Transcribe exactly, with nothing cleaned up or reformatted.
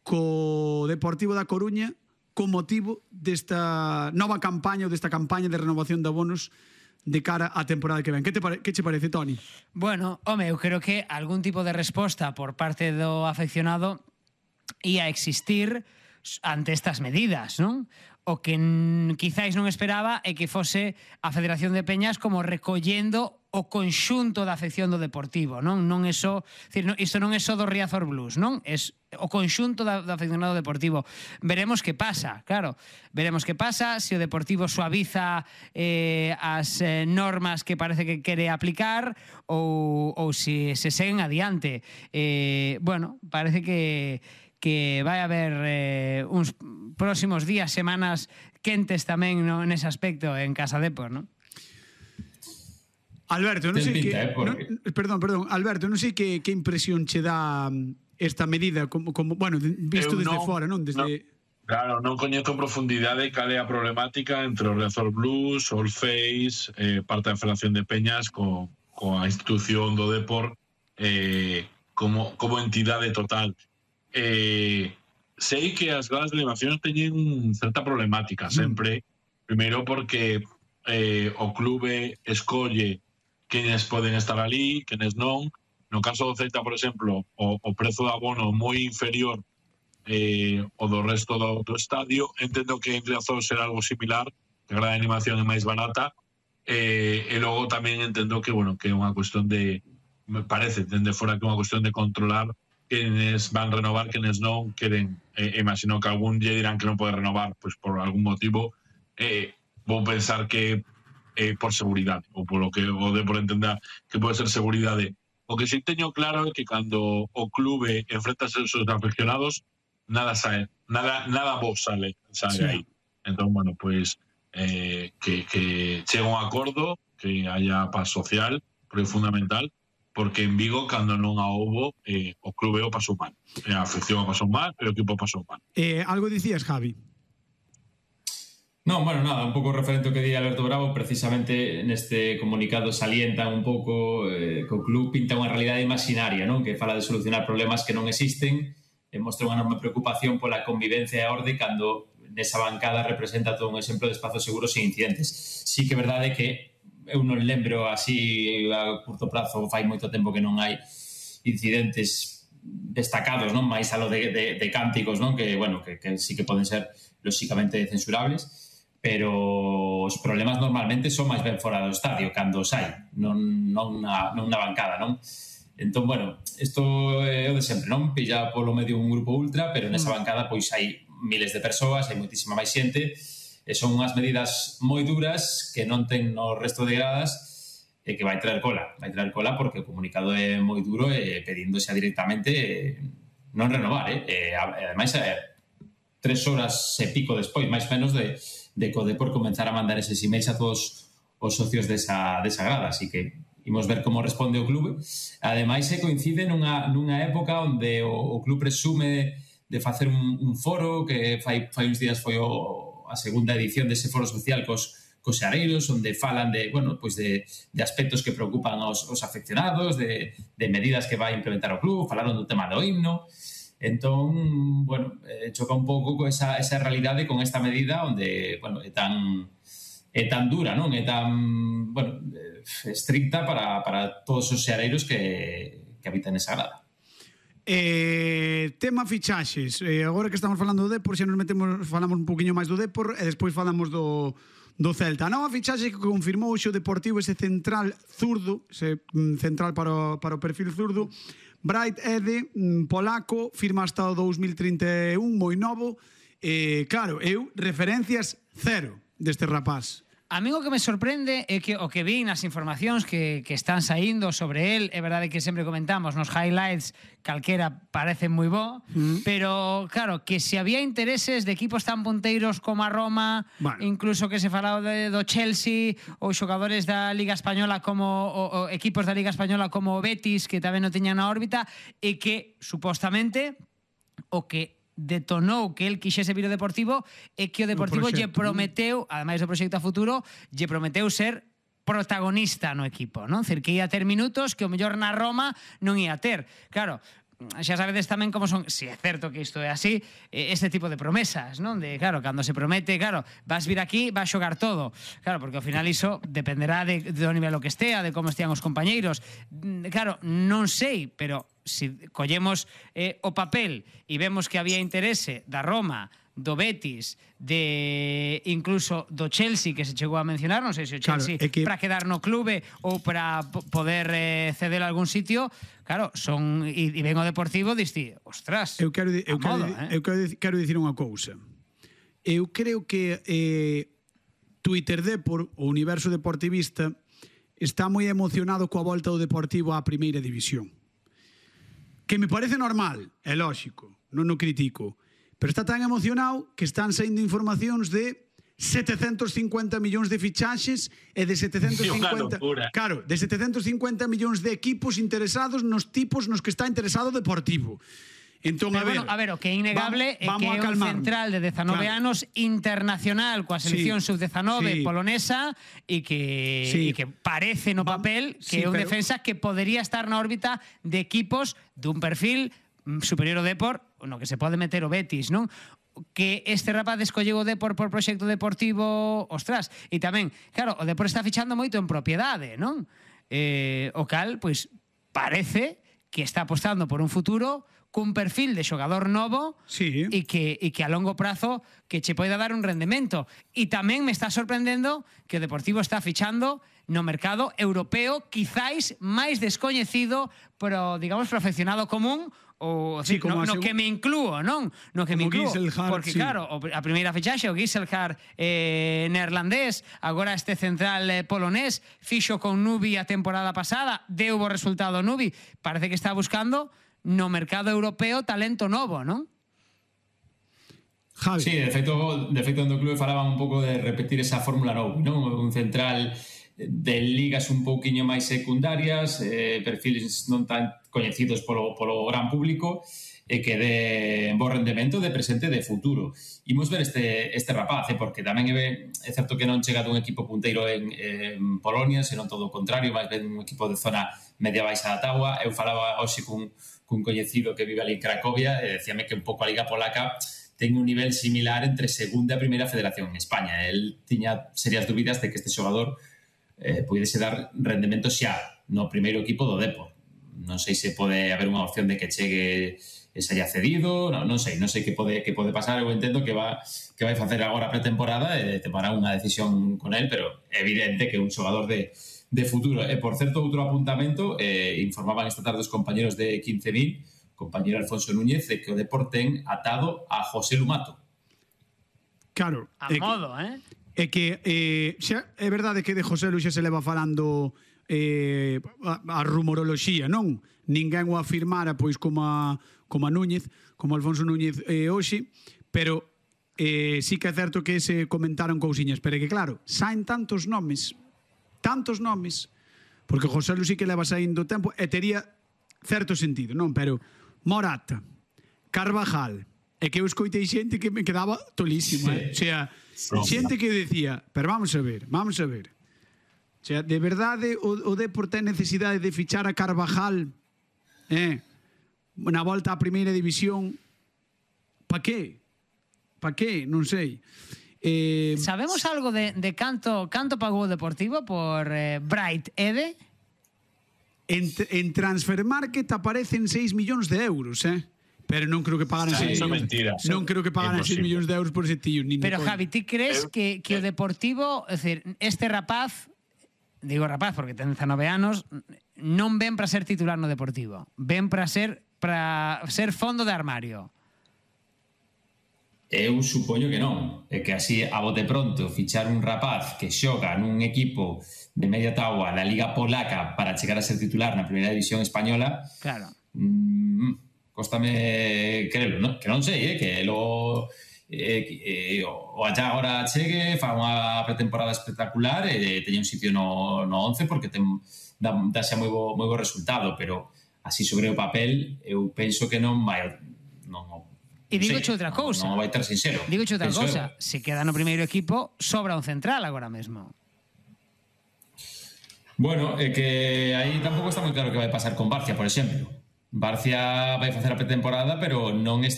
co Deportivo da Coruña con motivo desta nova campaña ou desta campaña de renovación de abonos de cara á temporada que ven. Que te pare, que che parece, Toni? Bueno, home, eu creo que algún tipo de resposta por parte do afeccionado ia existir ante estas medidas, non? O que quizáis non esperaba é que fose a Federación de Peñas como recollendo o conxunto da afección do Deportivo, non? Non é só, decir, non, isto non é só do Riazor Blues, non? É o conxunto da, do afeccionado Deportivo. Veremos que pasa, claro. Veremos que pasa, se o Deportivo suaviza eh, as eh, normas que parece que quere aplicar ou, ou se se seguen adiante. Eh, bueno, parece que que vai haber eh, uns próximos días, semanas quentes tamén no, nese aspecto en Casa Depor, non? Alberto, non sei que... Eh, porque... non, perdón, perdón, Alberto, non sei que, que impresión che dá esta medida, como, como bueno, visto Eu desde non, fora, non? Desde... Non, claro, non coñezo en profundidade cal é a problemática entre o Riazor Blues, o Face, eh, parte da Federación de Peñas co, co a institución do Depor eh, como, como entidade total. Eh, sei que as gradas de elevación teñen certa problemática sempre, mm. primeiro porque eh, o clube escolle quenes poden estar ali, quenes non. No caso do Celta, por exemplo, o, o prezo de abono moi inferior eh, o do resto do, do estadio. Entendo que en Riazor será algo similar, que a grada de animación é máis barata, eh, e logo tamén entendo que, bueno, que é unha cuestión de, me parece, dende fora que é unha cuestión de controlar quenes van renovar, quenes non queren. Eh, imagino que algún lle dirán que non pode renovar, pois por algún motivo. Eh, vou pensar que eh, por seguridade, ou polo que o de por entender que pode ser seguridade. O que si teño claro é que cando o clube enfrenta a seus afeccionados, nada sae, nada, nada vos sale, sale sí. aí. Entón, bueno, pois eh, que, que chegue un acordo, que haya paz social, porque é fundamental, porque en Vigo, cando non a houbo, eh, o clube o pasou mal. A afección o pasou mal, e o equipo o pasou mal. Eh, algo dicías, Javi? Non, bueno, nada, un pouco referente ao que di Alberto Bravo, precisamente neste comunicado salientan un pouco eh, que o club pinta unha realidade imaginaria, non? Que fala de solucionar problemas que non existen, e mostra unha enorme preocupación pola convivencia e a orde cando nesa bancada representa todo un exemplo de espazos seguros e incidentes. Sí que é verdade que eu non lembro así a curto prazo, fai moito tempo que non hai incidentes destacados, non? Mais alo de, de, de cánticos, non? Que, bueno, que, que sí que poden ser lóxicamente censurables, pero os problemas normalmente son máis ben fora do estadio, cando os hai, non, non, na, non na bancada, non? Entón, bueno, isto é o de sempre, non? Pilla polo medio un grupo ultra, pero nesa bancada pois hai miles de persoas, hai moitísima máis xente, e son unhas medidas moi duras que non ten no resto de gradas e que vai traer cola, vai traer cola porque o comunicado é moi duro e pedíndose directamente non renovar, eh? E ademais é tres horas e pico despois, máis menos de, de que o Depor comenzar a mandar eses emails a todos os socios desa, desa grada, así que imos ver como responde o clube. Ademais, se coincide nunha, nunha época onde o, o club presume de facer un, un foro que fai, fai uns días foi o a segunda edición dese foro social cos, cos xareiros, onde falan de, bueno, pues de, de aspectos que preocupan aos, aos afeccionados, de, de medidas que vai implementar o club, falaron do tema do himno. Entón, bueno, eh, choca un pouco con esa, esa realidade con esta medida onde, bueno, é tan é tan dura, non? É tan, bueno, estricta para, para todos os xareiros que, que habitan esa grada. Eh, tema fichaxes, eh, agora que estamos falando do Depor, xa nos metemos, falamos un poquinho máis do Depor e despois falamos do, do Celta. A nova fichaxe que confirmou o Deportivo, ese central zurdo, ese mm, central para o, para o perfil zurdo, Bright Ede, mm, polaco, firma hasta o dous mil trinta e un, moi novo. Eh, claro, eu, referencias cero deste rapaz. A mí o que me sorprende é que o que vi nas informacións que, que están saindo sobre el, é verdade que sempre comentamos nos highlights, calquera parece moi bo, mm. pero claro, que se había intereses de equipos tan punteiros como a Roma, bueno, incluso que se falaba de, do Chelsea, ou xogadores da Liga Española como o, o equipos da Liga Española como o Betis, que tamén non teñan na órbita, e que supostamente o que detonou que el quixese vir ao Deportivo e que o Deportivo lle prometeu, ademais do proxecto a futuro, lle prometeu ser protagonista no equipo, non? Cer que ia ter minutos que o mellor na Roma non ia ter. Claro, xa sabedes tamén como son, se é certo que isto é así, este tipo de promesas, non? De, claro, cando se promete, claro, vas vir aquí, vas xogar todo. Claro, porque ao final iso dependerá de, do nivel o que estea, de como estean os compañeiros. Claro, non sei, pero se collemos eh, o papel e vemos que había interese da Roma, do Betis, de incluso do Chelsea, que se chegou a mencionar, non sei se o Chelsea claro, que... para quedar no clube ou para poder eh, ceder a algún sitio, claro, son e, e ven o Deportivo, diste, ostras, eu quero, eu quero, modo, eh? eu quero, quero dicir unha cousa. Eu creo que eh, Twitter Depor, o universo deportivista, está moi emocionado coa volta do Deportivo á primeira división. Que me parece normal, é lógico, non o critico, pero está tan emocionado que están saindo informacións de setecentos cincuenta millóns de fichaxes e de setecentos cincuenta, claro, de setecentos cincuenta millóns de equipos interesados nos tipos nos que está interesado o Deportivo. Entón, pero, a ver, bueno, a ver, o que é innegable vamos, é que é un central de dezanove claro. anos internacional coa selección sí, sub dezanove sí. polonesa e que, sí. e que parece no papel que sí, é un pero... defensa que podería estar na órbita de equipos dun perfil superior ao Depor, no que se pode meter o Betis, non? Que este rapaz escolleu o Depor por proxecto deportivo, ostras, e tamén, claro, o Depor está fichando moito en propiedade, non? Eh, o cal, pois, parece que está apostando por un futuro cun perfil de xogador novo sí. e que, e que a longo prazo que che poida dar un rendemento. E tamén me está sorprendendo que o Deportivo está fichando no mercado europeo, quizáis máis descoñecido, pero, digamos, pro aficionado común, ou sí, decir, no, no segu... que me inclúo, non? No que me como inclúo, Giselhard, porque sí. claro, a primeira fichaxe o Giselhard eh, neerlandés, agora este central eh, polonés, fixo con Nubi a temporada pasada, deu bo resultado Nubi, parece que está buscando no mercado europeo talento novo, non? Javi. Sí, de feito, de feito no clube falaban un pouco de repetir esa fórmula Novi, non? Un central de ligas un pouquiño máis secundarias, eh, perfiles non tan coñecidos polo, polo gran público, e que de bo rendemento de presente e de futuro. Imos ver este, este rapaz, eh, porque tamén é, é certo que non chega dun equipo punteiro en, en Polonia, senón todo o contrario, máis ben un equipo de zona media baixa da táboa. Eu falaba hoxe cun, cun coñecido que vive ali en Cracovia e decíame que un pouco a Liga Polaca ten un nivel similar entre segunda e primeira federación en España. El tiña serias dúbidas de que este xogador eh, pudese dar rendemento xa no primeiro equipo do Depor. Non sei se pode haber unha opción de que chegue e se haya cedido, non, non sei, non sei que pode que pode pasar. Eu entendo que va que vai facer agora a pretemporada e tomará unha decisión con el, pero é evidente que é un xogador de, de futuro. E, por certo, outro apuntamento, eh, informaban esta tarde os compañeros de quince mil, compañero Alfonso Núñez, de que o Depor ten atado a José Lumato. Claro. A modo, que, eh? É que eh, xa, é verdade que de José Luis xa se leva falando eh, a, a rumoroloxía, non? Ninguén o afirmara, pois, como a, como a Núñez, como Alfonso Núñez eh, hoxe, pero eh, sí que é certo que se comentaron cousiñas, pero é que, claro, saen tantos nomes, tantos nomes, porque José Luis sí que leva saindo tempo, e tería certo sentido, non? Pero Morata, Carvajal, é que eu escoitei xente que me quedaba tolísima, sí. eh? O sea, xente que decía, pero vamos a ver, vamos a ver. O sea, de verdade o, o Depor ten necesidade de fichar a Carvajal eh, na volta á primeira división. Pa qué? Pa qué? Non sei. Eh, Sabemos algo de, de canto, canto pagou o Deportivo por eh, Bright Ede? En, en Transfermarket aparecen seis millóns de euros, eh? Pero non creo que pagaran sí, seis millóns. Mentira. Non creo que pagaran seis millóns de euros por ese tío. Nin Pero, Javi, ti crees que, que o Deportivo, é dicir, este rapaz, digo rapaz porque ten dezanove anos, non ven para ser titular no Deportivo. Ven para ser para ser fondo de armario. Eu supoño que non. É que así, a bote pronto, fichar un rapaz que xoga nun equipo de media táboa da Liga Polaca para chegar a ser titular na primeira división española, claro. Mmm, cóstame crelo, non? Que non sei, eh? Que lo eh, eh, o allá agora chegue, fa unha pretemporada espectacular e teña un sitio no, no once porque ten, dá, dá xa moi bo, moi bo resultado, pero así sobre o papel eu penso que non vai non, E digoche outra cousa. Non, non vai ter sincero. Digoche outra penso cousa. Eu. Se queda no primeiro equipo, sobra un central agora mesmo. Bueno, é que aí tampouco está moi claro que vai pasar con Barcia, por exemplo. Barcia vai facer a pretemporada, pero non está